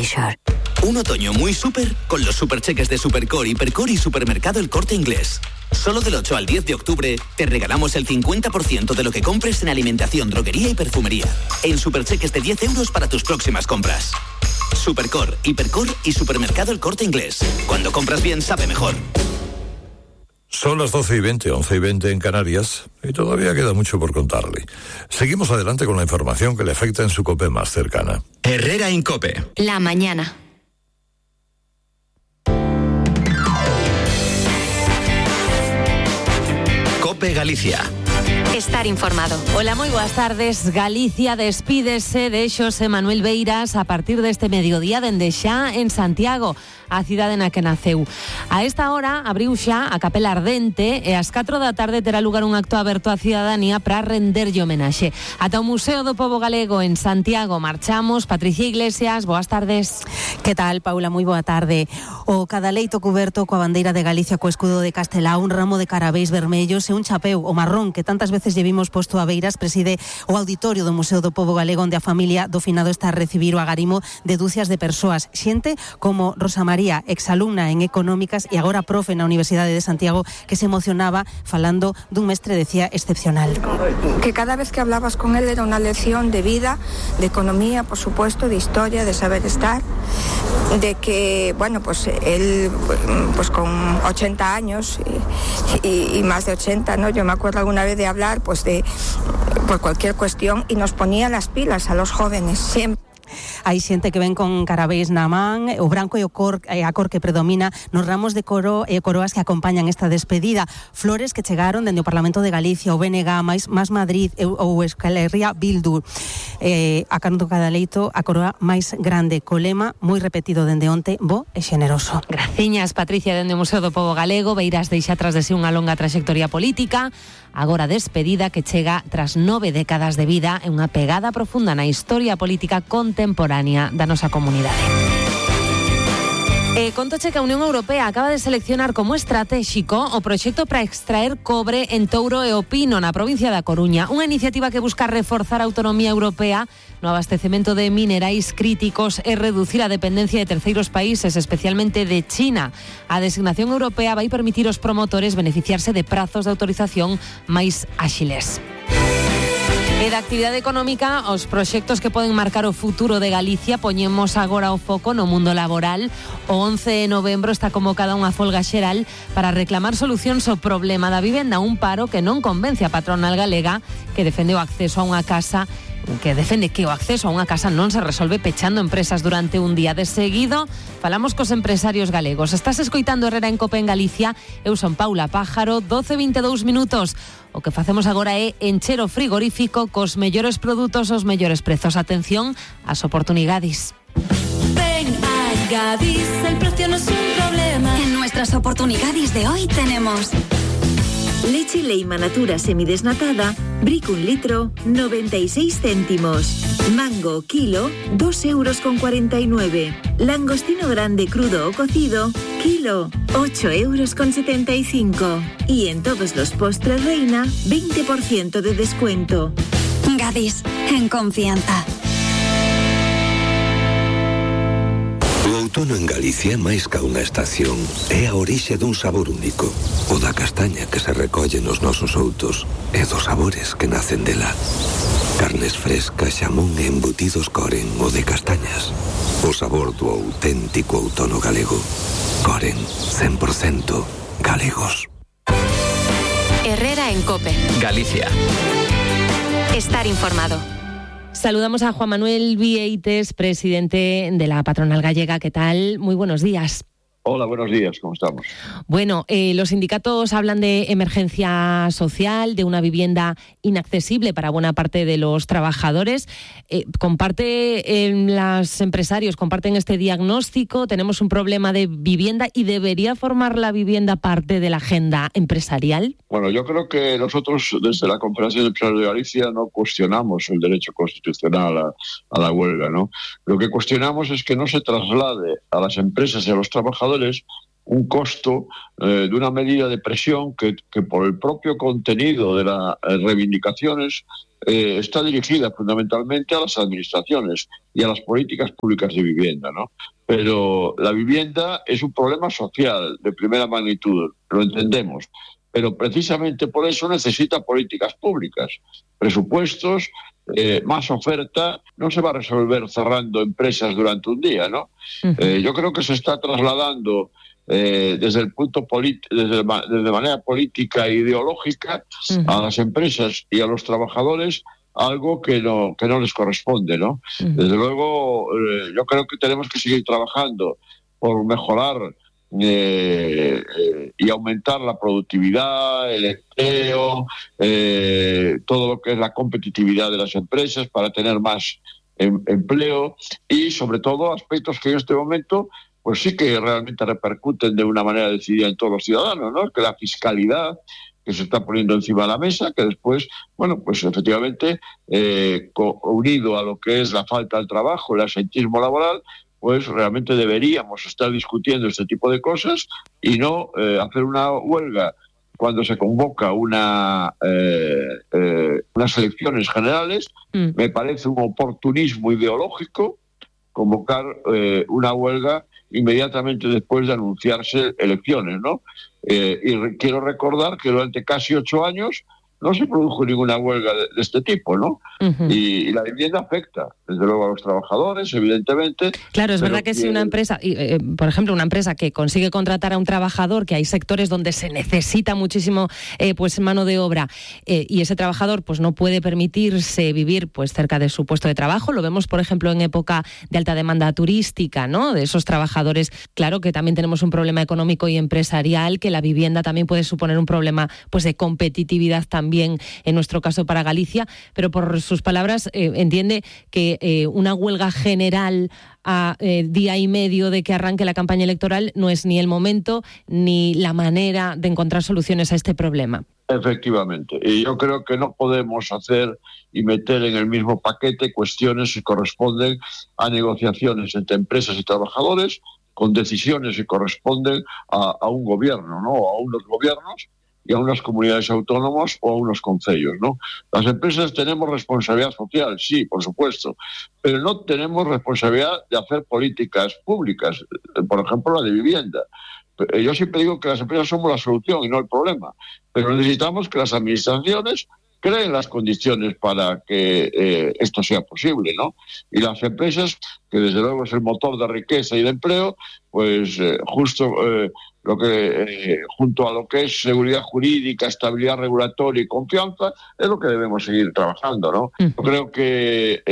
really sure. Un otoño muy súper con los supercheques de Supercore, Hipercore y Supermercado El Corte Inglés. Solo del 8 al 10 de octubre te regalamos el 50% de lo que compres en alimentación, droguería y perfumería. En supercheques de 10 euros para tus próximas compras. Supercore, Hipercore y Supermercado El Corte Inglés. Cuando compras bien, sabe mejor. Son las 12:20, 11:20 en Canarias, y todavía queda mucho por contarle. Seguimos adelante con la información que le afecta en su COPE más cercana. Herrera en COPE. La mañana. COPE Galicia. Estar informado. Hola, moi boas tardes. Galicia despídese de Xosé Manuel Beiras a partir deste mediodía dende xa en Santiago, a cidade na que naceu. A esta hora abriu xa a Capela Ardente e ás 4 da tarde terá lugar un acto aberto á cidadanía para renderlle homenaxe. Ata o Museo do Pobo Galego en Santiago marchamos. Patricia Iglesias, boas tardes. Que tal, Paula? Moi boa tarde. O cadaleito cuberto coa bandeira de Galicia co escudo de Castelao, un ramo de carabéis vermellos e un chapeu, o marrón, que tantas veces lle vimos posto a Beiras, preside o auditorio do Museo do Pobo Galego, onde a familia do finado está a recibir o agarimo de dúcias de persoas. Xente como Rosa María, exalumna en Económicas e agora profe na Universidade de Santiago, que se emocionaba falando dun mestre, decía, excepcional. Que cada vez que hablabas con él era una lección de vida, de economía, por supuesto, de historia, de saber estar, de que, bueno, pues él, pues con 80 años y más de 80, ¿no? Yo me acuerdo alguna vez de hablar, pues de por cualquier cuestión, y nos ponía las pilas a los jóvenes, siempre. Hai xente que ven con carabéis na man, o branco e a cor que predomina nos ramos de coro e coroas que acompañan esta despedida. Flores que chegaron dende o Parlamento de Galicia, o BNG, máis Madrid ou Euskal Herria Bildu. A canto cadaleito, a coroa máis grande, co lema moi repetido dende onte, bo e xeneroso. Graciñas, Patricia, dende o Museo do Pobo Galego. Beiras deixa tras de si unha longa traxectoria política, agora despedida que chega tras 9 décadas de vida e unha pegada profunda na historia política contemporánea da nosa comunidade. Contoche que a Unión Europea acaba de seleccionar como estratégico o proxecto para extraer cobre en Touro e o Pino, na provincia da Coruña. Unha iniciativa que busca reforzar a autonomía europea no abastecemento de minerais críticos e reducir a dependencia de terceiros países, especialmente de China. A designación europea vai permitir aos promotores beneficiarse de prazos de autorización máis áxiles. E da actividade económica, os proxectos que poden marcar o futuro de Galicia, poñemos agora o foco no mundo laboral. O 11 de novembro está convocada unha folga xeral para reclamar solucións ao problema da vivenda, un paro que non convence a patronal galega, que defende o acceso a unha casa que o acceso a unha casa non se resolve pechando empresas durante un día. De seguido, falamos cos empresarios galegos. Estás escoitando Herrera en COPE en Galicia. Eu son Paula Pájaro, 12:22 minutos. O que facemos agora é encher o frigorífico cos mellores produtos aos mellores prezos. Atención ás oportunidades. Ven a Gadis, el precio no es un problema. En nuestras oportunidades de hoy tenemos leche Leima Natura semidesnatada, Brick 1 litro, 96 céntimos. Mango, kilo, 2,49 €. Langostino grande crudo o cocido, kilo, 8,75 €. Y en todos los postres Reina, 20% de descuento. Gadis, en confianza. O outono en Galicia, máis ca unha estación, é a orixe dun sabor único, o da castaña que se recolle nos nosos outos e dos sabores que nacen dela. Carnes frescas, xamón e embutidos Coren, o de castañas. O sabor do auténtico outono galego. Coren, 100% galegos. Herrera en COPE. Galicia. Estar informado. Saludamos a Juan Manuel Vieites, presidente de la patronal gallega. ¿Qué tal? Muy buenos días. Hola, buenos días, ¿cómo estamos? Bueno, los sindicatos hablan de emergencia social, de una vivienda inaccesible para buena parte de los trabajadores. Los empresarios comparten este diagnóstico. Tenemos un problema de vivienda y ¿debería formar la vivienda parte de la agenda empresarial? Bueno, yo creo que nosotros desde la Confederación de Empresarios de Galicia no cuestionamos el derecho constitucional a la huelga, ¿no? Lo que cuestionamos es que no se traslade a las empresas y a los trabajadores un costo de una medida de presión que por el propio contenido de las reivindicaciones está dirigida fundamentalmente a las administraciones y a las políticas públicas de vivienda, ¿no? Pero la vivienda es un problema social de primera magnitud, lo entendemos, pero precisamente por eso necesita políticas públicas, presupuestos, más oferta. No se va a resolver cerrando empresas durante un día, ¿no? Yo creo que se está trasladando desde el punto desde manera política e ideológica a las empresas y a los trabajadores algo que no les corresponde, ¿no? Desde luego, yo creo que tenemos que seguir trabajando por mejorar y aumentar la productividad, el empleo, todo lo que es la competitividad de las empresas para tener más empleo y, sobre todo, aspectos que en este momento pues sí que realmente repercuten de una manera decidida en todos los ciudadanos, ¿no? Que la fiscalidad que se está poniendo encima de la mesa, que después, bueno, pues efectivamente, unido a lo que es la falta del trabajo, el asentismo laboral, pues realmente deberíamos estar discutiendo este tipo de cosas y no hacer una huelga cuando se convoca unas elecciones generales. Me parece un oportunismo ideológico convocar una huelga inmediatamente después de anunciarse elecciones, ¿no? Y quiero recordar que durante casi 8 años no se produjo ninguna huelga de este tipo, ¿no? Y la vivienda afecta, desde luego, a los trabajadores, evidentemente. Claro, es verdad que si una empresa, por ejemplo, una empresa que consigue contratar a un trabajador, que hay sectores donde se necesita muchísimo pues mano de obra, y ese trabajador pues no puede permitirse vivir pues cerca de su puesto de trabajo. Lo vemos, por ejemplo, en época de alta demanda turística, ¿no? De esos trabajadores. Claro que también tenemos un problema económico y empresarial, que la vivienda también puede suponer un problema pues de competitividad también en nuestro caso para Galicia, pero por sus palabras entiende que una huelga general a día y medio de que arranque la campaña electoral no es ni el momento ni la manera de encontrar soluciones a este problema. Efectivamente, y yo creo que no podemos hacer y meter en el mismo paquete cuestiones que corresponden a negociaciones entre empresas y trabajadores con decisiones que corresponden a un gobierno, ¿no? A unos gobiernos y a unas comunidades autónomas o a unos concellos, ¿no? Las empresas tenemos responsabilidad social, sí, por supuesto, pero no tenemos responsabilidad de hacer políticas públicas, por ejemplo, la de vivienda. Yo siempre digo que las empresas somos la solución y no el problema, pero necesitamos que las administraciones creen las condiciones para que esto sea posible, ¿no? Y las empresas, que desde luego es el motor de riqueza y de empleo, pues lo que junto a lo que es seguridad jurídica, estabilidad regulatoria y confianza, es lo que debemos seguir trabajando, ¿no? Yo creo que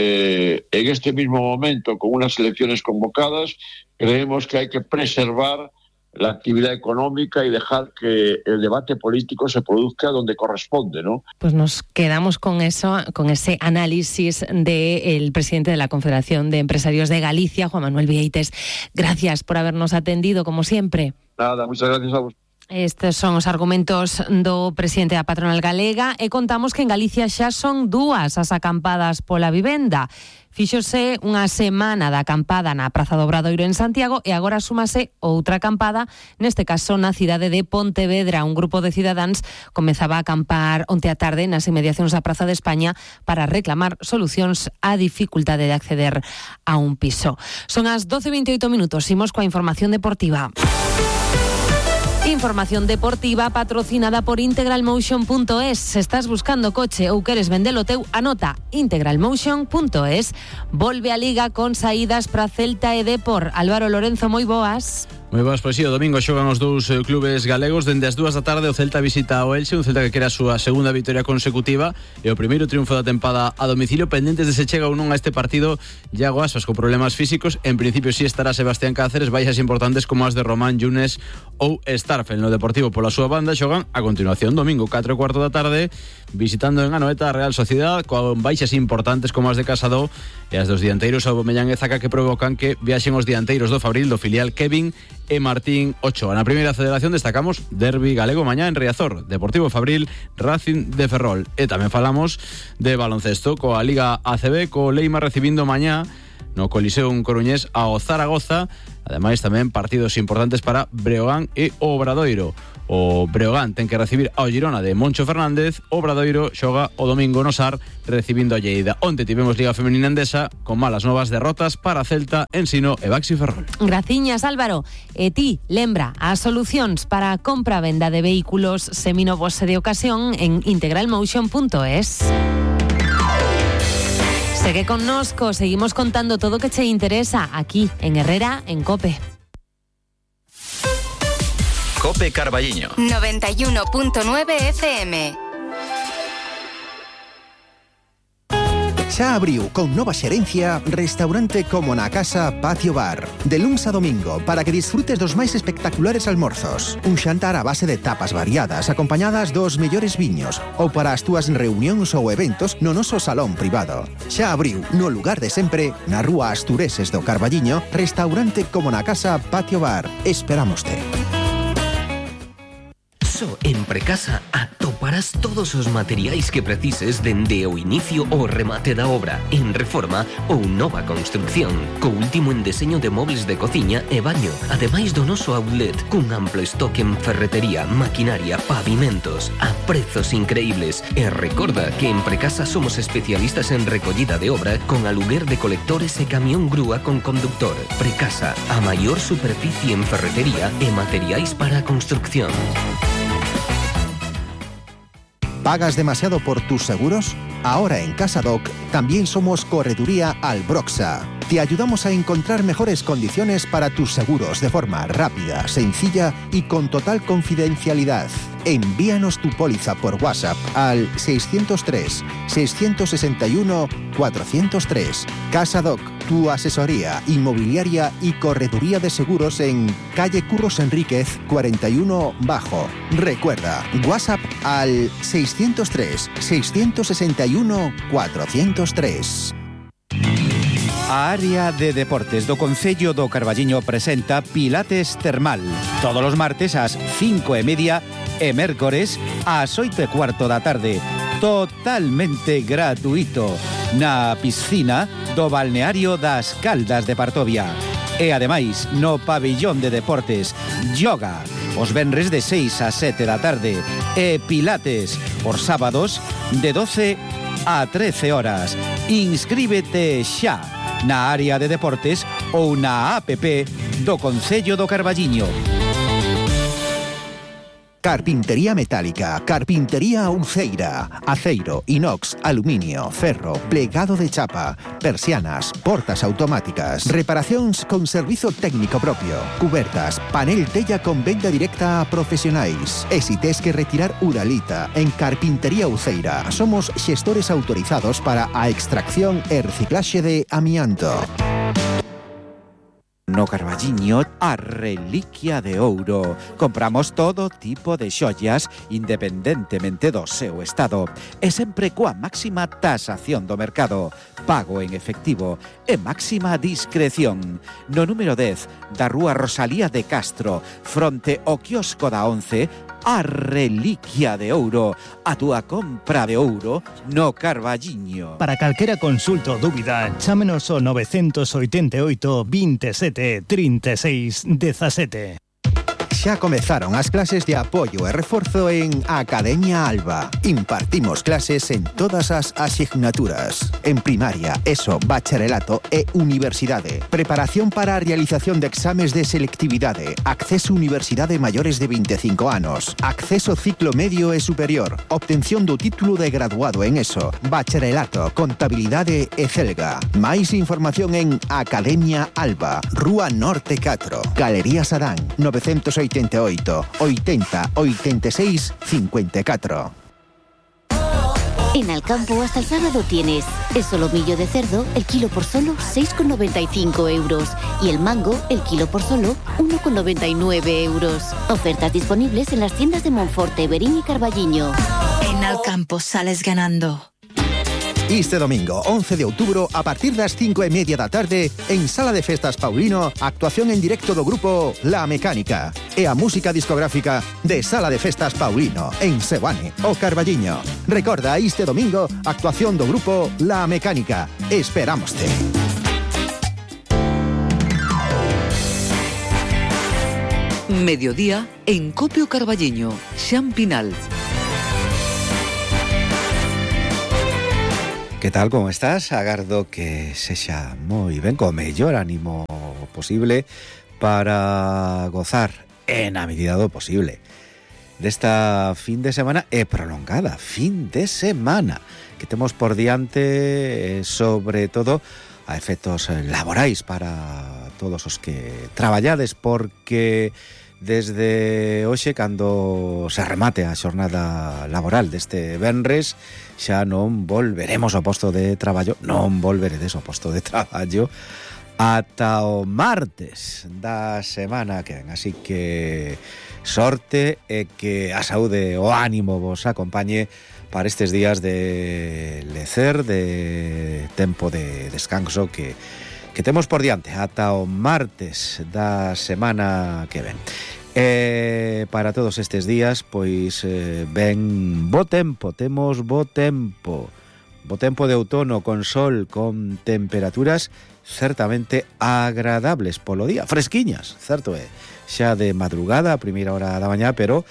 en este mismo momento, con unas elecciones convocadas, creemos que hay que preservar la actividad económica y dejar que el debate político se produzca donde corresponde, ¿no? Pues nos quedamos con eso, con ese análisis del presidente de la Confederación de Empresarios de Galicia, Juan Manuel Vieites. Gracias por habernos atendido, como siempre. Nada, muchas gracias a vos. Estes son os argumentos do presidente da patronal galega e contamos que en Galicia xa son 2 as acampadas pola vivenda. Fíxose unha semana da acampada na Praza do Obradoiro en Santiago e agora súmase outra acampada, neste caso na cidade de Pontevedra. Un grupo de cidadáns comezaba a acampar onte a tarde nas inmediacións da Praza de España para reclamar solucións á dificultade de acceder a un piso. Son as 12:28 minutos, imos coa información deportiva. Información deportiva patrocinada por integralmotion.es. Se estás buscando coche ou queres vendelo teu, anota integralmotion.es. Volve a Liga con saídas para Celta e Depor. Álvaro Lorenzo, moi boas. Moi boas, pois si, o domingo xogan os dous clubes galegos. Dende as 2 da tarde o Celta visita o Elxe, un Celta que quere a súa segunda vitoria consecutiva e o primeiro triunfo da tempada a domicilio, pendentes de se chega ou non a este partido. Iago Aspas con problemas físicos, en principio si estará Sebastián Cáceres. Baixas importantes como as de Román Yunes ou Starfel. No Deportivo pola súa banda xogan a continuación domingo 4:15 da tarde visitando en Anoeta a Real Sociedad, con baixas importantes como as de Casado e as dos dianteiros Aubameyang e Zaka, que provocan que viaxen os dianteiros do Fabril, do filial Kevin e Martín Ochoa. Na primeira federación destacamos derbi galego mañá en Riazor, Deportivo Fabril, Racing de Ferrol. E tamén falamos de baloncesto coa Liga ACB, co Leima recibindo mañá no Coliseum coruñés ao Zaragoza. Ademais, tamén partidos importantes para Breogán e Obradoiro. O Breogán ten que recibir ao Girona de Moncho Fernández. O Obradoiro xoga o domingo no Sar recibindo a Lleida. Onte tivemos Liga Femenina Endesa con malas novas derrotas para Celta, Ensino e Baxi Ferrol. Graciñas, Álvaro. E ti, lembra as solucións para a compra-venda de vehículos seminovos e de ocasión en integralmotion.es. Segue connosco, seguimos contando todo o que che interesa aquí en Herrera, en COPE. COPE Carballiño 91.9 FM. Xa abriu con nova xerencia restaurante como na casa Patio Bar. De luns a domingo para que disfrutes dos máis espectaculares almorzos. Un xantar a base de tapas variadas acompañadas dos mellores viños ou para as túas reunións ou eventos no noso salón privado. Xa abriu no lugar de sempre na rúa Astureses do Carballiño restaurante como na casa Patio Bar. Esperámoste. En Precasa atoparás todos os materiais que precises dende o inicio ao remate da obra, en reforma ou nova construcción, co último en deseño de mobles de cociña e baño, ademais do noso outlet, cun amplo estoque en ferretería, maquinaria, pavimentos, a prezos increíbles. E recorda que en Precasa somos especialistas en recollida de obra con aluguer de colectores e camión grúa con conductor. Precasa, a maior superficie en ferretería e materiais para a construcción. ¿Pagas demasiado por tus seguros? Ahora en CasaDoc también somos Correduría Albroxa. Te ayudamos a encontrar mejores condiciones para tus seguros de forma rápida, sencilla y con total confidencialidad. Envíanos tu póliza por WhatsApp al 603-661-403. CasaDoc, tu asesoría inmobiliaria y correduría de seguros en calle Curros Enríquez 41 Bajo. Recuerda, WhatsApp al 603-661-403. A área de deportes do Concello do Carballiño presenta Pilates Termal. Todos os martes ás 5:30 e mércores ás 8:15 da tarde. Totalmente gratuito na piscina do balneario das Caldas de Partovia. E ademais no pabillón de deportes yoga os venres de 6 a 7 da tarde e pilates os sábados de 12 a 13 horas. Inscríbete xa na área de deportes ou na app do Concello do Carballiño. Carpintería metálica, carpintería Uceira, aceiro, inox, aluminio, ferro, plegado de chapa, persianas, portas automáticas, reparacións con servizo técnico propio, cubertas, panel tella con venda directa a profesionais. E si tes que retirar uralita, en Carpintería Uceira somos xestores autorizados para a extracción e reciclaxe de amianto. No Carballiño, a reliquia de ouro. Compramos todo tipo de xoias independentemente do seu estado e sempre coa máxima tasación do mercado, pago en efectivo e máxima discreción. No número 10 da rúa Rosalía de Castro, fronte ao quiosco da 11, a reliquia de ouro, a túa compra de ouro no Carballiño. Para calquera consulta ou dúbida, chámenos ao 988 27 36 17. Xa comezaron as clases de apoio e reforzo en Academia Alba. Impartimos clases en todas as asignaturas. En primaria, ESO, bacharelato e universidade. Preparación para a realización de exames de selectividade. Acceso a universidade maiores de 25 anos. Acceso ciclo medio e superior. Obtención do título de graduado en ESO, bacharelato, contabilidade e celga. Máis información en Academia Alba, Rúa Norte 4, Galería Sadán, 988 80 86 54. En Alcampo hasta el sábado tienes el solomillo de cerdo, el kilo por solo 6,95 euros y el mango, el kilo por solo 1,99 euros. Ofertas disponibles en las tiendas de Monforte, Berín y Carballiño. En Alcampo sales ganando. Este domingo, 11 de outubro, a partir das 5:30 da tarde, en Sala de Festas Paulino, actuación en directo do grupo La Mecánica e a música discográfica de Sala de Festas Paulino, en Seoane, o Carballiño. Recorda, este domingo, actuación do grupo La Mecánica. Esperámoste. Mediodía en Copio Carballiño, Xan Pinal. Que tal, como estás? Agardo que sexa moi ben, co mellor ánimo posible para gozar en a medida do posible desta fin de semana e prolongada fin de semana que temos por diante, sobre todo a efectos laborais para todos os que traballades, porque desde hoxe, cando se remate a xornada laboral deste venres, xa non volveremos ao posto de traballo, non volveredes ao posto de traballo ata o martes da semana que ven. Así que sorte e que a saúde, o ánimo vos acompañe para estes días de lecer, de tempo de descanso que temos por diante ata o martes da semana que ven. Para todos estes días, pois ven bo tempo, temos bo tempo de outono, con sol, con temperaturas certamente agradables polo día, fresquiñas, certo é, xa de madrugada, a primeira hora da mañá, pero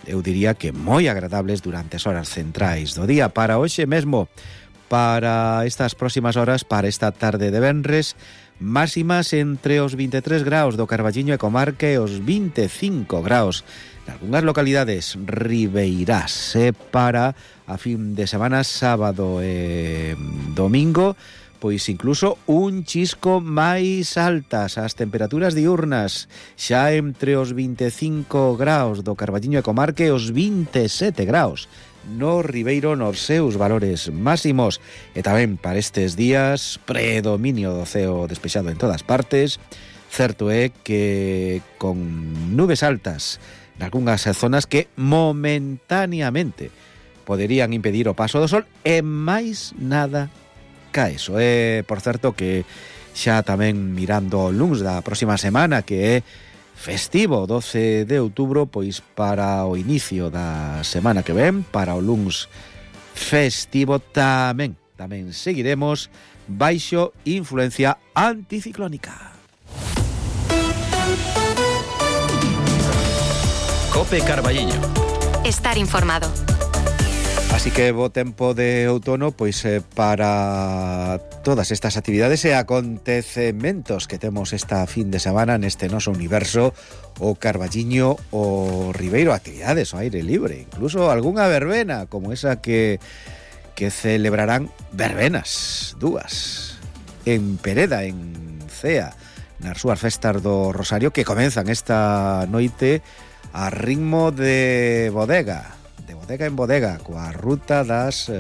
eu diría que moi agradables durante as horas centrais do día. Para hoxe mesmo, para estas próximas horas, para esta tarde de venres, máximas entre os 23 graus do Carballiño e comarca e os 25 graus nalgunhas localidades ribeirás. Para a fin de semana, sábado e domingo, pois incluso un chisco máis altas as temperaturas diurnas, xa entre os 25 graus do Carballiño e comarca e os 27 graus no Ribeiro nos seus valores máximos. E tamén para estes días, predominio do ceo despexado en todas partes. Certo é que con nubes altas nalgunhas zonas que momentáneamente poderían impedir o paso do sol e máis nada ca eso. Por certo que xa tamén mirando o luns da próxima semana, que é festivo, 12 de outubro, pois para o inicio da semana que ven, para o luns festivo, tamén seguiremos baixo influencia anticiclónica. Cope Carballiño. Estar informado. Así que bo tempo de outono, pois para todas estas actividades e acontecementos que temos esta fin de semana neste noso universo, o Carballiño, o Ribeiro, actividades ao aire libre, incluso algunha verbena como esa que celebrarán verbenas, dúas, en Pereda, en Cea, nas súas festas do Rosario, que comenzan esta noite a ritmo de bodega en bodega, coa ruta das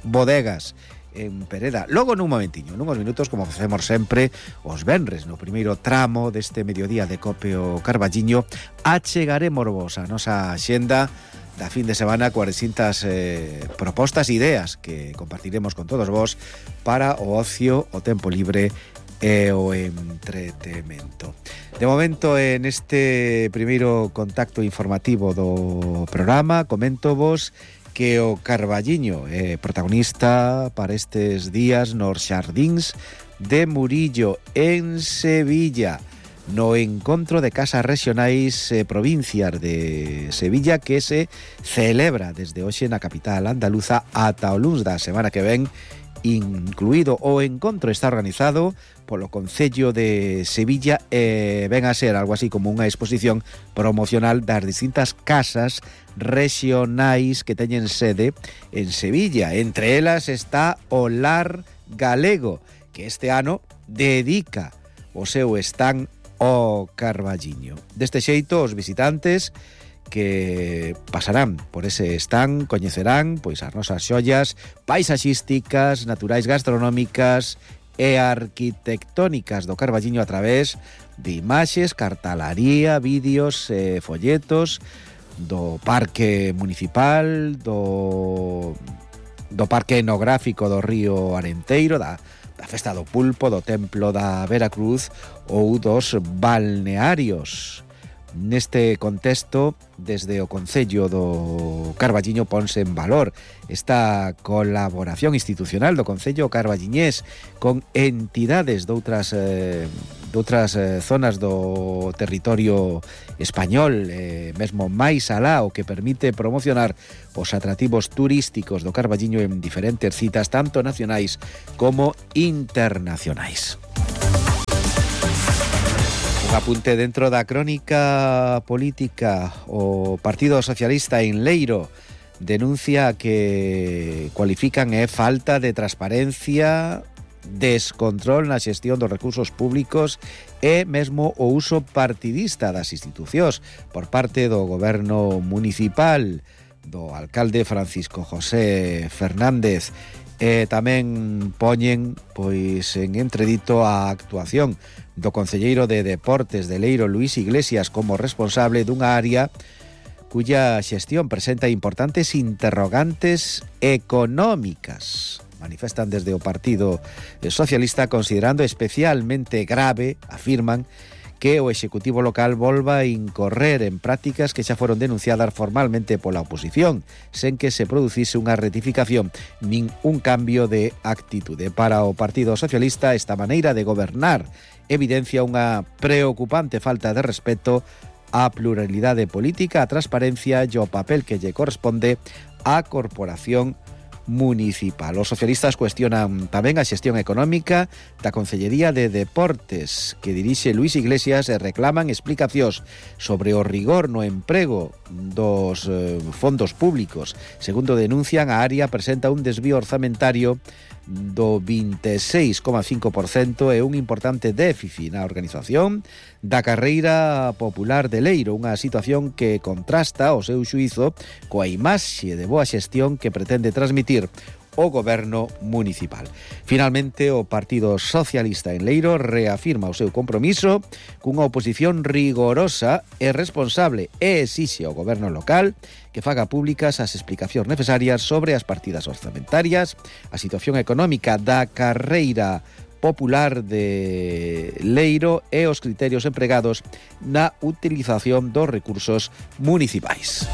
bodegas en Pereda. Logo nun momentiño, nunhos minutos, como facemos sempre os venres, no primeiro tramo deste mediodía de Copio Carballiño, achegaremos a nosa axenda da fin de semana coas distintas propostas e ideas que compartiremos con todos vos para o ocio, o tempo libre e o entretemento. De momento, en este primeiro contacto informativo do programa, comento vos que o Carballiño é protagonista para estes días nos xardíns de Murillo, en Sevilla, no encontro de casas regionais provincias de Sevilla, que se celebra desde hoxe na capital andaluza ata o luns da semana que ven incluído. O encontro está organizado polo Concello de Sevilla e ven a ser algo así como unha exposición promocional das distintas casas regionais que teñen sede en Sevilla. Entre elas está o Lar Galego, que este ano dedica o seu stand ao Carballiño. Deste xeito, os visitantes que pasarán por ese stand coñecerán pois as nosas xollas paisaxísticas, naturais, gastronómicas e arquitectónicas do Carballiño a través de imaxes, cartalaría, vídeos e folletos do Parque Municipal, do Parque Etnográfico do Río Arenteiro, da Festa do Pulpo, do Templo da Veracruz ou dos balnearios. Neste contexto, desde o Concello do Carballiño ponse en valor esta colaboración institucional do Concello carballiñés con entidades doutras doutras zonas do territorio español, mesmo máis alá, o que permite promocionar os atractivos turísticos do Carballiño en diferentes citas, tanto nacionais como internacionais. Un apunte dentro da crónica política. O Partido Socialista en Leiro denuncia que cualifican falta de transparencia, descontrol na xestión dos recursos públicos e mesmo o uso partidista das institucións por parte do goberno municipal, do alcalde Francisco José Fernández. Tamén poñen pois en entredito a actuación do concelleiro de Deportes de Leiro, Luís Iglesias, como responsable dunha área cuya xestión presenta importantes interrogantes económicas. Manifestan desde o Partido Socialista, considerando especialmente grave, afirman, que o Executivo local volva a incorrer en prácticas que xa foron denunciadas formalmente pola oposición, sen que se producise unha rectificación nin un cambio de actitude. Para o Partido Socialista, esta maneira de gobernar evidencia unha preocupante falta de respeto á pluralidade política, a transparencia e o papel que lle corresponde á corporación municipal. Os socialistas cuestionan tamén a xestión económica da Concellería de Deportes que dirixe Luís Iglesias e reclaman explicacións sobre o rigor no emprego dos fondos públicos. Segundo denuncian, a área presenta un desvío orzamentario do 26,5% e un importante déficit na organización da carreira popular de Leiro, unha situación que contrasta, ao seu xuízo, coa imaxe de boa xestión que pretende transmitir o goberno municipal. Finalmente, o Partido Socialista en Leiro reafirma o seu compromiso cunha oposición rigorosa e responsable e exixe ao goberno local que faga públicas as explicacións necesarias sobre as partidas orzamentarias, a situación económica da carreira popular de Leiro e os criterios empregados na utilización dos recursos municipais.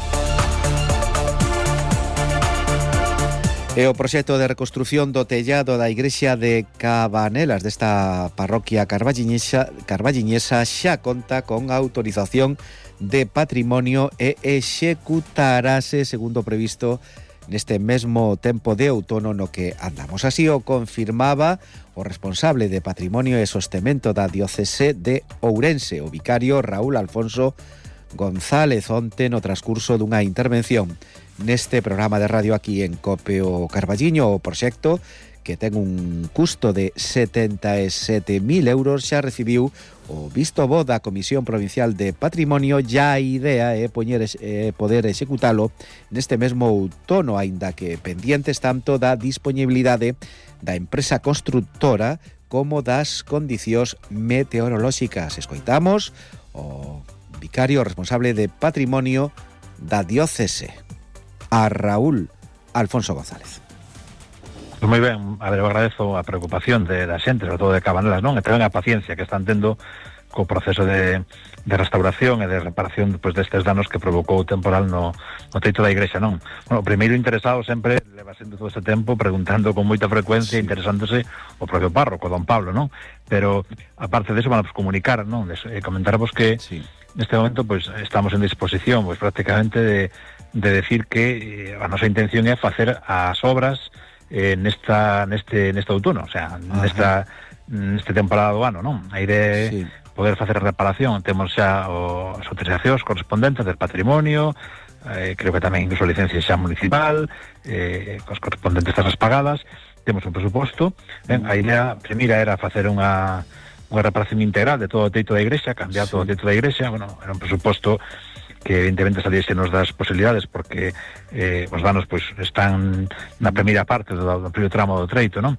E o proxecto de reconstrución do tellado da igrexa de Cabanelas desta parroquia carballiñesa xa conta con autorización de patrimonio e executarase segundo previsto neste mesmo tempo de outono no que andamos. Así o confirmaba o responsable de Patrimonio e Sostemento da Diocese de Ourense, o vicario Raúl Alfonso González, onte no transcurso dunha intervención neste programa de radio aquí en COPE o Carballiño. O proxecto, que ten un custo de 77.000 euros, xa recibiu o visto bo da Comisión Provincial de Patrimonio. Ya a idea é poder executalo neste mesmo outono, aínda que pendientes tanto da disponibilidade da empresa constructora como das condicións meteorolóxicas. Escoitamos o vicario responsable de Patrimonio da Diocese, a Raúl Alfonso González. Pues moi ben, a ver, eu agradezo a preocupación da xente, sobre todo de Cabanelas, non? E tamén a paciencia que están tendo co proceso de restauración e de reparación despois destes danos que provocou o temporal no teito da igrexa, non? Bueno, o primeiro interesado sempre leva sendo todo este tempo preguntando con moita frecuencia, interesándose o propio párroco, don Pablo, non? Pero, aparte de eso, van a comunicar, non? Comentarvos que neste momento pues estamos en disposición, pues prácticamente de decir que a nosa intención é facer as obras neste outono, o sea, neste temporada do ano, non? A idea é poder facer a reparación. Temos xa as autorizacións correspondentes del patrimonio, creo que tamén incluso a licencia xa municipal, cos correspondentes tasas pagadas. Temos un presuposto. A idea primeira era facer unha reparación integral de todo o teito da igrexa, cambiar todo o teito da igrexa. Bueno, era un presuposto que evidentemente salíese nos das posibilidades porque os danos pues están na primeira parte do primeiro tramo do treito, non?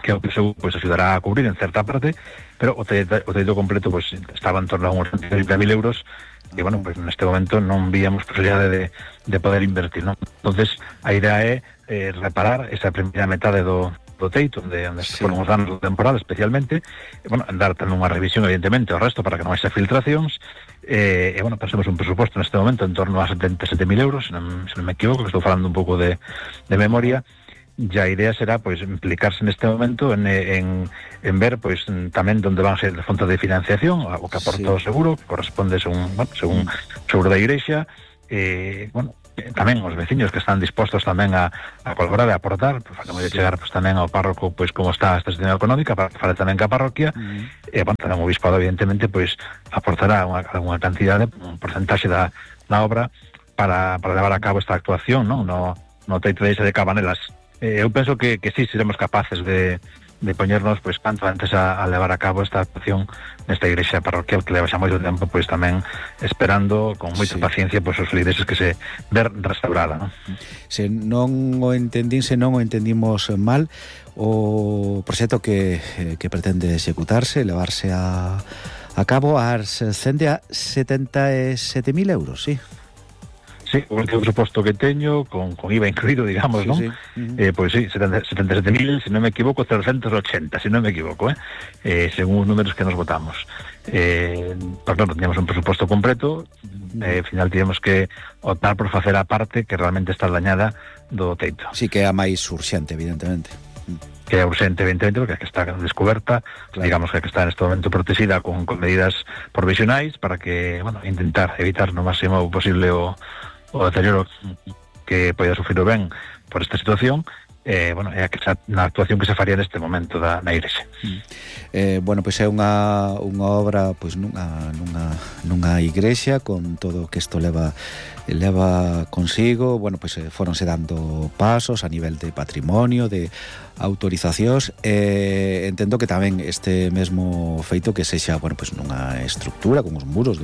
Que o que se pues axudará a cubrir en certa parte, pero o teito completo pues estaba en torno a uns 30.000 euros e, bueno, pues neste momento non víamos posibilidade de poder invertir, non? Entonces, a idea é reparar esa primeira metade do teito, onde foron os danos do temporal especialmente, e, bueno, dar tamén unha revisión evidentemente ao resto para que non haxa filtracións. E bueno, pensemos un presuposto neste momento en torno a 77.000 euros, se non me equivoco, que estou falando un pouco de memoria, ya a idea será pois implicarse neste momento en ver pois tamén onde van ser as fontes de financiación, o que aporta o seguro, que corresponde según seguro da Igrexa, tamén os veciños que están dispostos tamén a colaborar e a aportar, pues, facemos de chegar pues, tamén ao párroco pois como está esta situación económica, para falar tamén ca parroquia, e tamén o bispado evidentemente pois aportará unha cantidade, un porcentaxe da obra para levar a cabo esta actuación, no teito de Cabanelas. Eu penso que sí, seremos capaces de poñernos pois canto antes a levar a cabo esta actuación nesta igrexa parroquial que leva xa moito tempo pois tamén esperando con moita paciencia pois os feligreses que se ver restaurada, non? Se non o entendimos mal, o proxecto que pretende executarse, levarse a cabo, ascende a 77.000 euros, sí. Sí, o último presuposto que teño, con IVA incluído, digamos, ¿no? Sí. Pois sí, 77.000, se non me equivoco, 380, se non me equivoco, según os números que nos votamos. Pero claro, teníamos un presuposto completo, ao final tivemos que optar por facer a parte que realmente está dañada do teito. Sí, que é a máis urxente, evidentemente. Que é urxente, evidentemente, porque está descoberta, claro. Digamos que está neste momento protegida con medidas provisionais para que, intentar evitar no máximo posible o deterioro que poida sufrir o ben por esta situación, é na actuación que se faría neste momento na igrexa. Pois é unha obra pois nunha igrexa con todo o que isto leva consigo. Pois foronse dando pasos a nivel de patrimonio, de autorizacións, entendo que tamén este mesmo feito que sexa, pois nunha estructura con os muros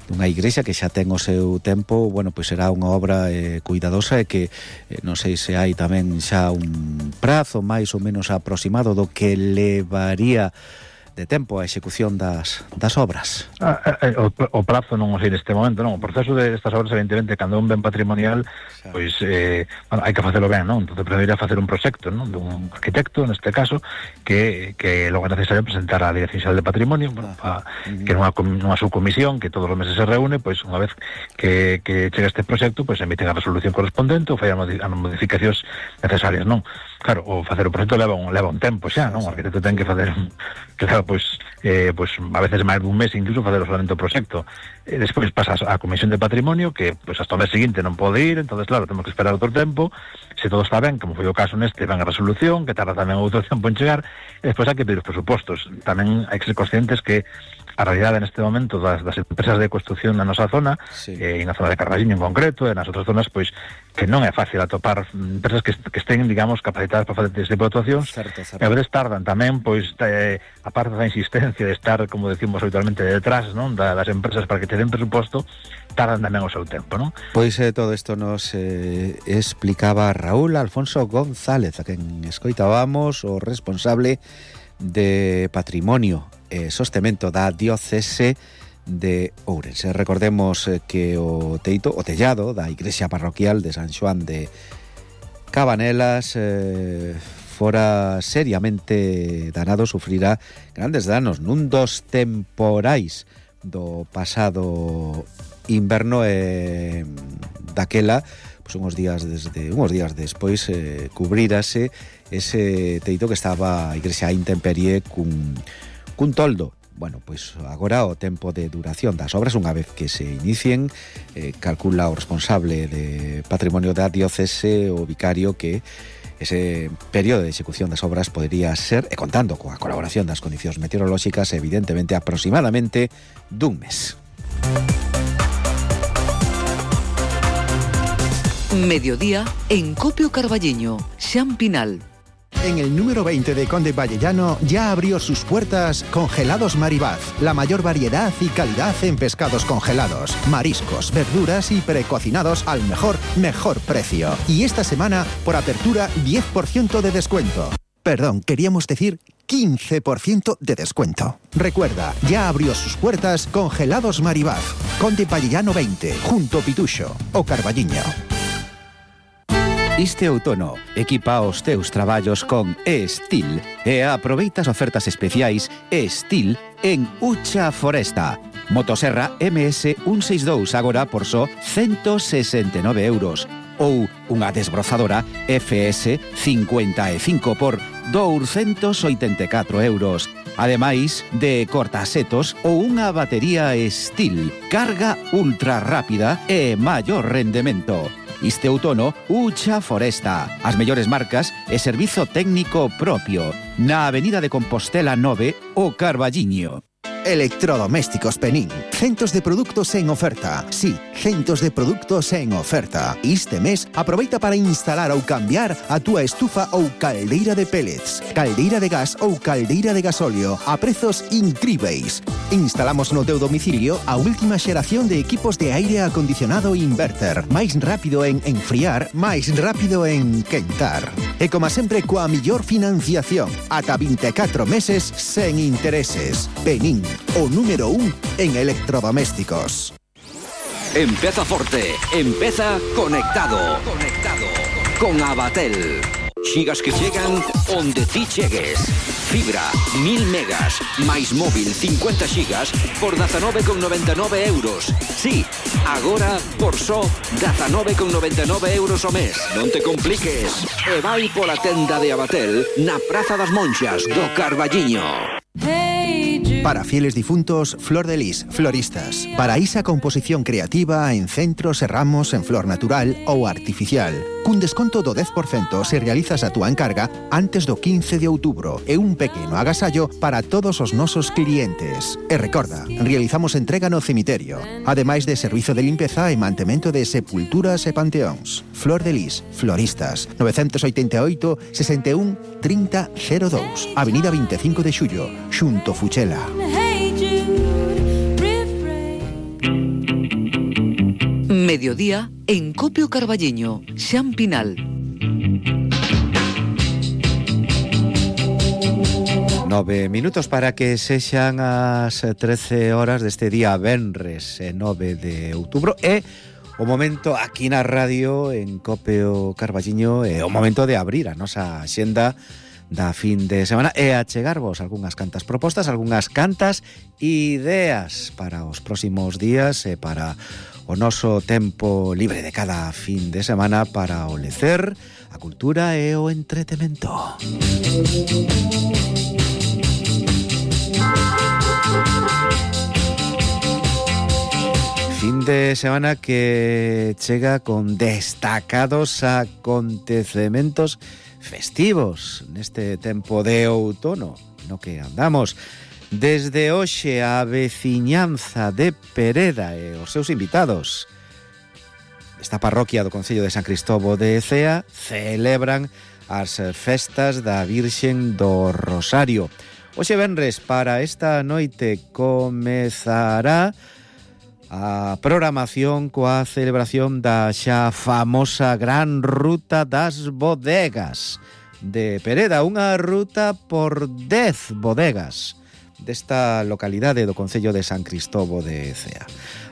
dunha igrexa que xa ten o seu tempo, pois será unha obra cuidadosa e que non sei se hai tamén xa un prazo máis ou menos aproximado do que levaría de tempo a execución das obras. O prazo non o sei neste momento, non. O proceso destas obras, evidentemente, cando é un ben patrimonial, pois hai que facelo ben, non? Entón, primeiro a facer un proxecto, non? Dun arquitecto, neste caso, que logo é necesario presentar á Dirección Xeral de Patrimonio, que nunha subcomisión que todos os meses se reúne, pois unha vez que chega este proxecto, pois emiten a resolución correspondente ou fai as modificacións necesarias, non? Claro, o facer o proxecto leva un tempo xa, non? O arquitecto ten que facer pois a veces máis dun mes incluso facer solamente o proxecto. Despois pasa a Comisión de Patrimonio, que pois hasta o mes seguinte non pode ir, entonces claro, temos que esperar outro tempo. Se todo está ben, como foi o caso neste, van a resolución, que tarda tamén outro tempo en chegar, e despois hai que pedir os presupostos. Tamén hai que ser conscientes que a realidade neste momento das empresas de construcción na nosa zona, e na zona de Carballiño en concreto, e nas outras zonas, pois que non é fácil atopar empresas que estén, digamos, capacitadas para facer este tipo de actuacións. E a veces tardan tamén, pois, a parte da insistencia de estar, como decimos habitualmente, detrás, non, das empresas para que te den presuposto, tardan tamén o seu tempo, non? Pois todo isto nos explicaba Raúl Alfonso González, a quen escoitábamos, o responsable de Patrimonio e Sostemento da Diocese de Ourense. Recordemos que o tellado da igrexa parroquial de San Xoán de Cabanelas fora seriamente danado, sufrirá grandes danos nun dos temporais do pasado inverno, e daquela unhos días despois cubrírase ese teito que estaba a igrexa a intemperie cun toldo. Pois agora o tempo de duración das obras, unha vez que se inicien, calcula o responsable de Patrimonio da Diocese, o vicario, que ese período de execución das obras podría ser, e contando coa colaboración das condicións meteorolóxicas, evidentemente aproximadamente dun mes. Mediodía en Copio Carballiño, Xan Pinal. En el número 20 de Conde Vallellano ya abrió sus puertas Congelados Maribaz, la mayor variedad y calidad en pescados congelados, mariscos, verduras y precocinados al mejor precio. Y esta semana, por apertura, 10% de descuento. Perdón, queríamos decir 15% de descuento. Recuerda, ya abrió sus puertas Congelados Maribaz, Conde Vallellano 20, junto Pituxo o Carballiño. Este outono, equipa os teus traballos con E-Steel e aproveita as ofertas especiais E-Steel en Ucha Foresta. Motosserra MS 162 agora por só 169 euros ou unha desbrozadora FS 55 por 284 euros. Ademais de cortasetos ou unha batería Steel, carga ultra rápida e maior rendemento. Este outono, Ucha Foresta, as mellores marcas e servizo técnico propio. Na Avenida de Compostela 9, o Carballiño. Electrodomésticos Penín. Centos de produtos en oferta. Sí, centos de produtos en oferta. Este mes, aproveita para instalar ou cambiar a túa estufa ou caldeira de pellets, caldeira de gas ou caldeira de gasóleo a prezos incríveis. Instalamos no teu domicilio a última xeración de equipos de aire acondicionado inverter. Máis rápido en enfriar, máis rápido en quentar. E como sempre, coa millor financiación. Ata 24 meses sen intereses. Penín, o número 1 en electrodomésticos. Empeza forte, empeza conectado. Con Abatel. Xigas que chegan onde ti chegues. Fibra, 1000 megas, máis móvil 50 xigas por 19,99 euros. Sí, agora por só 19,99 euros ao mes. Non te compliques. E vai pola tenda de Abatel na Praza das Monxas do Carballiño. Para fieles difuntos, Flor de Lis, floristas. Para esa composición creativa en centros e ramos en flor natural ou artificial. Cun desconto do 10% se realizas a túa encarga antes do 15 de outubro e un pequeno agasallo para todos os nosos clientes. E recorda, realizamos entrega no cemiterio, ademais de servizo de limpeza e mantemento de sepulturas e panteóns. Flor de Lis, floristas, 988 61 30 02, Avenida 25 de Xullo, xunto Fuchela. Mediodía en Copio Carballiño, Xan Pinal. 9 minutos para que sexan as 13 horas deste día venres 9 de outubro e o momento aquí na radio en Copio Carballiño é o momento de abrir a nosa axenda da fin de semana e achegarvos algunhas cantas propostas, algunhas cantas ideas para os próximos días e para o noso tempo libre de cada fin de semana para o lecer, a cultura e o entretemento. Fin de semana que chega con destacados acontecementos festivos neste tempo de outono no que andamos. Desde hoxe a veciñanza de Pereda e os seus invitados esta parroquia do Concello de San Cristóbo de Cea celebran as festas da Virxen do Rosario. Hoxe venres para esta noite comezará a programación coa celebración da xa famosa Gran Ruta das Bodegas de Pereda, unha ruta por 10 bodegas desta localidade do Concello de San Cristóbo de Cea.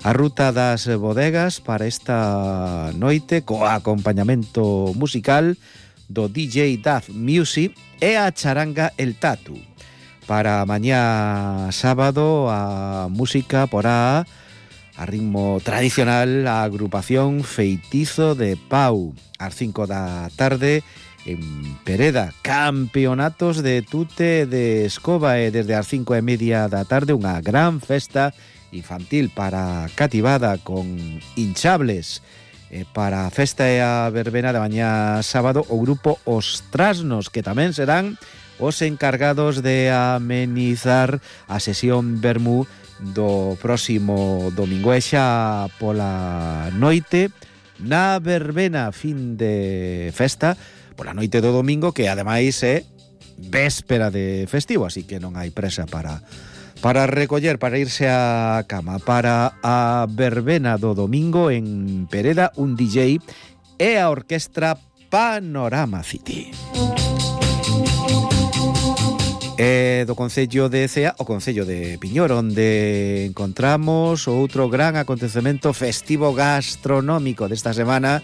A Ruta das Bodegas para esta noite co acompañamento musical do DJ Duff Music e a charanga El Tatu. Para mañá sábado a música porá a ritmo tradicional a agrupación Feitizo de Pau. Ás 5 da tarde en Pereda, campeonatos de tute de escoba e desde as 5:30 da tarde unha gran festa infantil para cativada con hinchables. Para a festa e a verbena de mañá sábado o grupo Os Trasnos, que tamén serán os encargados de amenizar a sesión vermú do próximo domingo. E xa pola noite na verbena fin de festa, pola noite do domingo, que ademais é véspera de festivo, así que non hai presa para recoller, para irse á cama. Para a verbena do domingo en Pereda, un DJ e a orquestra Panorama City. E do Concello de Cea, o Concello de Piñor, onde encontramos outro gran acontecemento festivo gastronómico desta semana,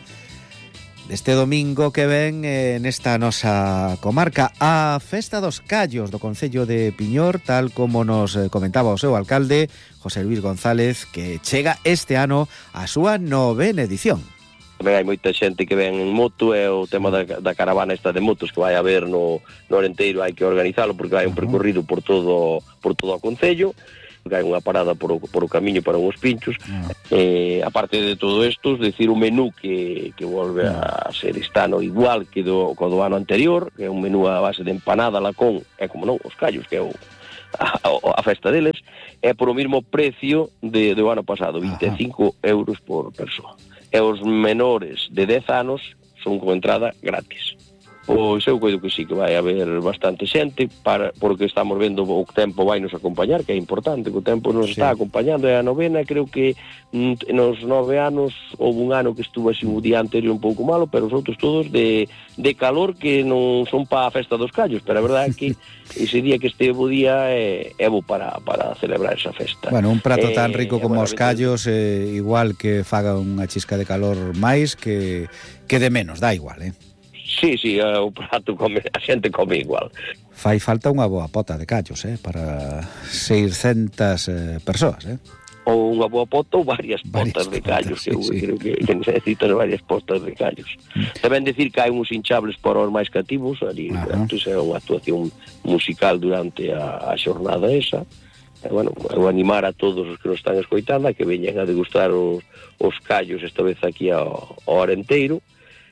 deste domingo que ven nesta nosa comarca, a Festa dos Callos do Concello de Piñor, tal como nos comentaba o seu alcalde, José Luis González, que chega este ano a súa 9ª edición. Tamén hai moita xente que ven en moto, e o tema da caravana esta de motos que vai a haber no Arenteiro, hai que organizalo porque hai un percorrido por todo o concello, que hai unha parada por o camiño para uns pinchos. Aparte de todo isto, decir, o menú que volve a ser este ano igual que do ano anterior, que é un menú a base de empanada, lacón, e como non, os callos, que é a festa deles, é por o mesmo precio do ano pasado, 25 euros por persoa. E os menores de 10 anos son con entrada gratis. Pois eu coido que sí, que vai haber bastante xente, porque estamos vendo o tempo vai nos acompañar, que é importante, que o tempo nos está acompañando, e a novena, creo que nos 9 anos houve un ano que estuvo así o día anterior un pouco malo, pero os outros todos de calor, que non son para a festa dos callos, pero a verdade é que ese día que este bo día é bo para celebrar esa festa. Bueno, un prato tan rico como os callos, igual que faga unha chisca de calor máis que de menos, dá igual, Sí, o prato a xente come igual. Fai falta unha boa pota de callos, para 600 persoas, Ou unha boa pota ou varias potas de callos, sí. Creo que necesitas varias potas de callos. Tamén decir que hai uns hinchables para os máis cativos, ali, entón é unha actuación musical durante a xornada esa. Bueno, eu animar a todos os que nos están escoitando a que veñan a degustar os callos esta vez aquí ao Arenteiro,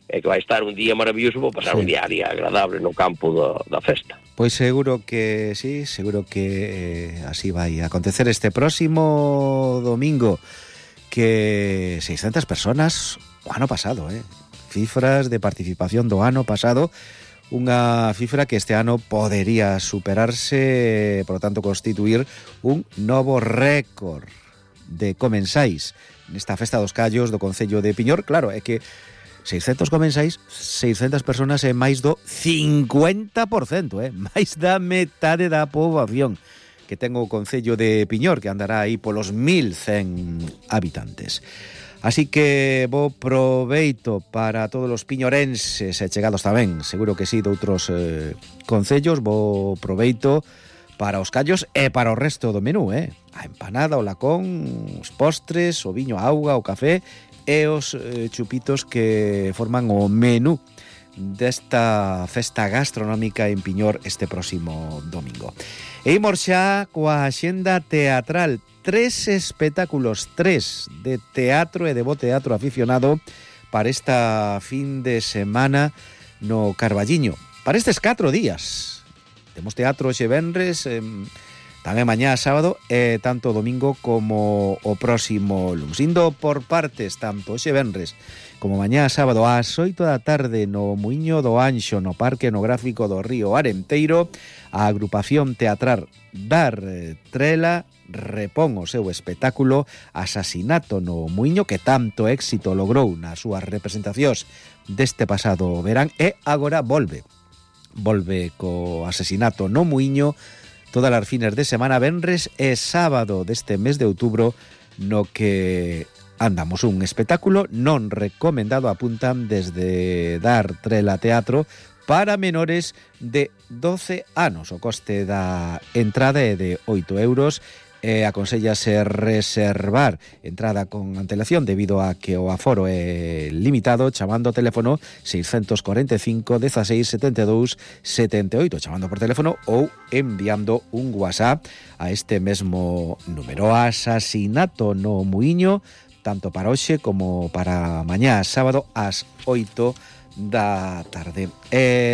e que vai estar un día maravilloso, vou pasar un día agradable no campo da festa. Pois seguro que sí, seguro que así vai a acontecer este próximo domingo, que 600 personas o ano pasado, cifras de participación do ano pasado, unha cifra que este ano podería superarse, por lo tanto constituir un novo récord de comensais nesta festa dos callos do concello de Piñor. Claro, é que 600 comensais, 600 personas é máis do 50%, máis da metade da poboación que ten o concello de Piñor, que andará aí polos 1100 habitantes. Así que bo proveito para todos os piñorenses e chegados tamén, seguro que sí, de outros concellos, bo proveito para os callos e para o resto do menú, a empanada, o lacón, os postres, o viño, a auga, o café e os chupitos que forman o menú desta festa gastronómica en Piñor este próximo domingo. E imos xa coa axenda teatral. 3 espectáculos, 3 de teatro e de bo teatro aficionado para esta fin de semana no Carballiño. Para estes 4 días. Temos teatro xe venres, tamén mañá sábado e tanto domingo como o próximo luns. Indo por partes, tanto hoxe venres como mañá sábado ás 8 da tarde no Muiño do Anxo, no Parque Etnográfico do Río Arenteiro, a agrupación teatral Dar Trela repón o seu espectáculo Asasinato no Muiño, que tanto éxito logrou nas súas representacións deste pasado verán, e agora volve co Asesinato no Muiño todas as fines de semana, venres e sábado deste mes de outubro, no que andamos un espectáculo non recomendado, apuntan desde Dar Trela Teatro, para menores de 12 anos. O coste da entrada é de 8 euros e aconsellase reservar entrada con antelación debido a que o aforo é limitado chamando ao teléfono 645 16 72 78, chamando por teléfono ou enviando un WhatsApp a este mesmo número. Asasinato no Muiño, tanto para hoxe como para mañá sábado ás 8 da tarde.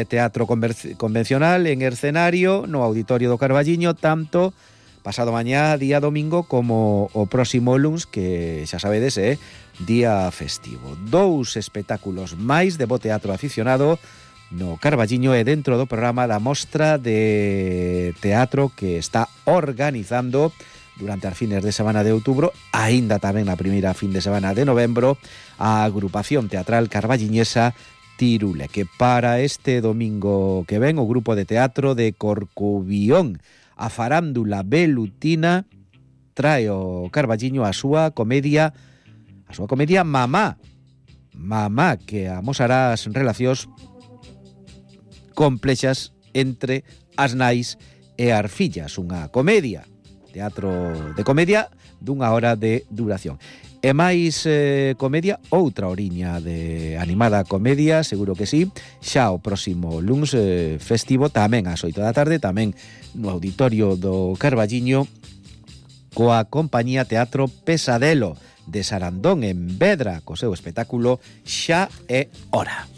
Teatro convencional en escenario no Auditorio do Carballiño, tanto pasado mañá, día domingo, como o próximo luns, que xa sabedes é día festivo. 2 espectáculos máis de bo teatro aficionado no Carballiño e dentro do programa da mostra de teatro que está organizando durante as fines de semana de outubro, aínda tamén na primeira fin de semana de novembro, a agrupación teatral carballiñesa Tirule, que para este domingo que ven o grupo de teatro de Corcubión, a farándula velutina, trae o Carballiño a súa comedia Mamá, que amosará as relacións complexas entre as nais e as fillas, unha comedia, teatro de comedia dunha hora de duración. E máis comedia, outra horiña de animada comedia, seguro que sí, xa o próximo luns festivo, tamén ás 8 da tarde, tamén no auditorio do Carballiño, coa compañía Teatro Pesadelo de Sarandón en Vedra, co seu espectáculo Xa é hora.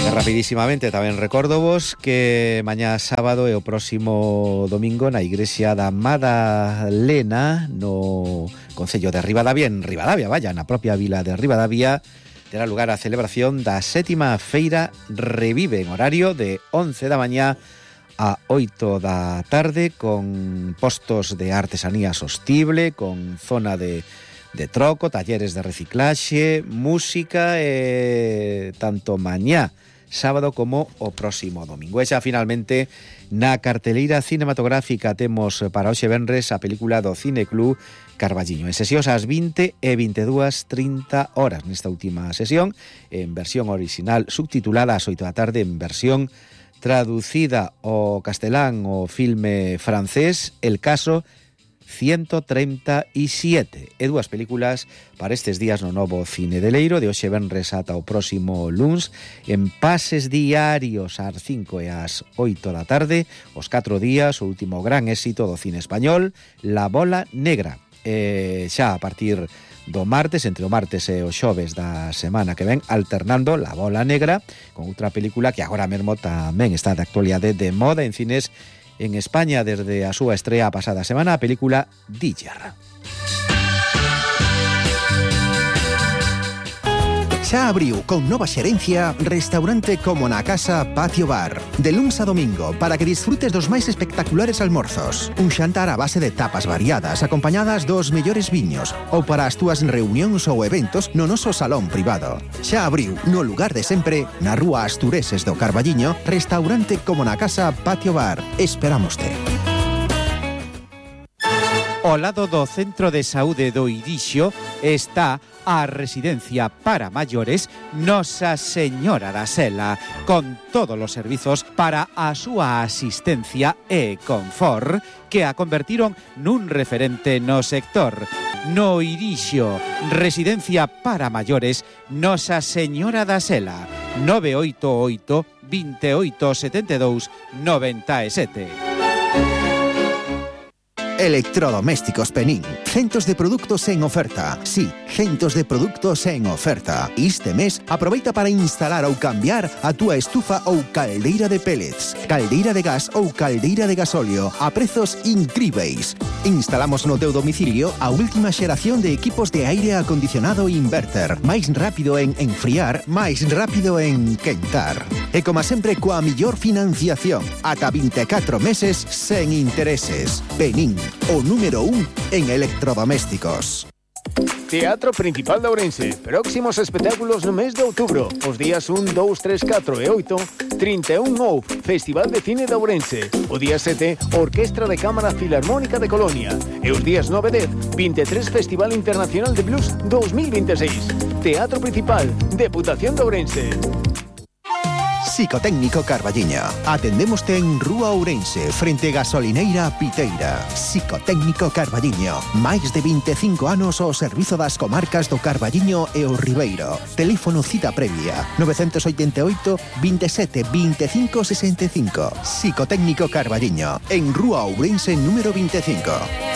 E rapidísimamente tamén recórdovos que mañá sábado e o próximo domingo na igrexa da Madalena no concello de Ribadavia, na propia vila de Ribadavia, terá lugar a celebración da 7ª Feira Revive en horario de 11 da mañá a 8 da tarde, con postos de artesanía sostible, con zona de troco, talleres de reciclaxe, música e tanto mañá sábado como o próximo domingo. E xa finalmente na carteleira cinematográfica temos para hoxe venres a película do Cineclub Carballiño, en sesións ás 20 e 22:30 horas. Nesta última sesión, en versión original subtitulada, ás 8 da tarde en versión traducida ao castelán o filme francés El caso 137, e dúas películas para estes días no novo cine de Leiro, de hoxe venres ata o próximo luns, en pases diarios ás 5 e ás 8 da tarde, os 4 días, o último gran éxito do cine español, La Bola Negra. Xa a partir do martes, entre o martes e o xoves da semana que ven, alternando La Bola Negra con outra película que agora mesmo tamén está de actualidade, de moda en cines en España desde a súa estrea pasada semana, a película Diller. Xa abriu con nova xerencia restaurante como na casa Patio Bar. De luns a domingo, para que disfrutes dos máis espectaculares almorzos. Un xantar a base de tapas variadas, acompañadas dos mellores viños, ou para as túas reunións ou eventos no noso salón privado. Xa abriu no lugar de sempre, na rúa Astureses do Carballiño, restaurante como na casa Patio Bar. Esperámoste. Ao lado do Centro de Saúde do Irixo está a residencia para maiores Nosa Señora da Sela, con todos os servizos para a súa asistencia e confort, que a convertiron nun referente no sector. No Irixo, residencia para maiores Nosa Señora da Sela, 988 28 72 97. Electrodomésticos Penín. Centos de produtos en oferta. Sí, centos de produtos en oferta. Este mes, aproveita para instalar ou cambiar a túa estufa ou caldeira de pellets, caldeira de gas ou caldeira de gasóleo a prezos incríveis. Instalamos no teu domicilio a última xeración de equipos de aire acondicionado inverter. Máis rápido en enfriar, máis rápido en quentar. E como sempre, coa millor financiación, ata 24 meses sen intereses. Penín, o número 1 en electrodomésticos. Teatro Principal de Ourense. Próximos espectáculos no mes de outubro. Os días 1, 2, 3, 4 e 8, 31 OUF, Festival de Cine de Ourense. O día 7, Orquestra de Cámara Filarmónica de Colonia. E os días 9 e 10, 23 Festival Internacional de Blues 2026. Teatro Principal, Deputación de Ourense. Psicotécnico Carballiño. Atendémoste en Rúa Ourense, frente Gasolineira Piteira. Psicotécnico Carballiño. Máis de 25 anos ao servizo das comarcas do Carballiño e o Ribeiro. Teléfono cita previa 988 27 25 65. Psicotécnico Carballiño, en Rúa Ourense número 25.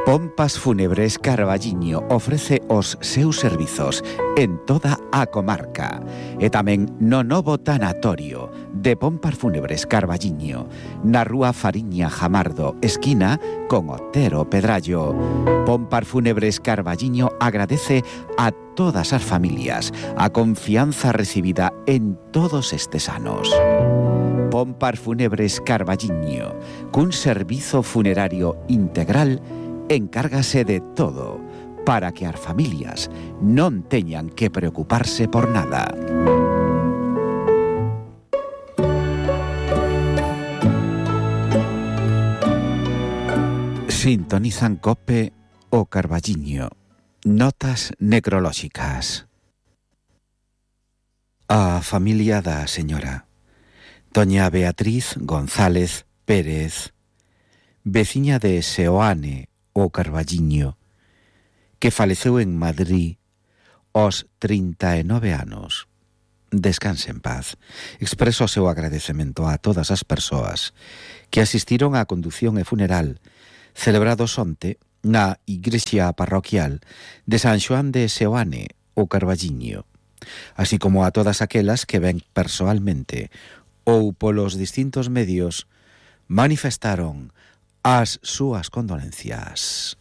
Pompas Fúnebres Carballiño ofrece os seus servizos en toda a comarca e tamén no novo tanatorio de Pompas Fúnebres Carballiño, na rúa Fariña Jamardo, esquina con Otero Pedrallo. Pompas Fúnebres Carballiño agradece a todas as familias a confianza recibida en todos estes anos. Pompas Fúnebres Carballiño, cun servizo funerario integral, encárgase de todo para que as familias non teñan que preocuparse por nada. Sintonizan COPE o Carballiño. Notas necrolóxicas. A familia da señora doña Beatriz González Pérez, veciña de Seoane o Carballiño, que faleceu en Madrid aos 39 anos. Descanse en paz. Expreso o seu agradecemento a todas as persoas que asistiron á condución e funeral celebrados onte na igrexa parroquial de San Xoán de Seoane o Carballiño, así como a todas aquelas que ven persoalmente ou polos distintos medios manifestaron as súas condolencias.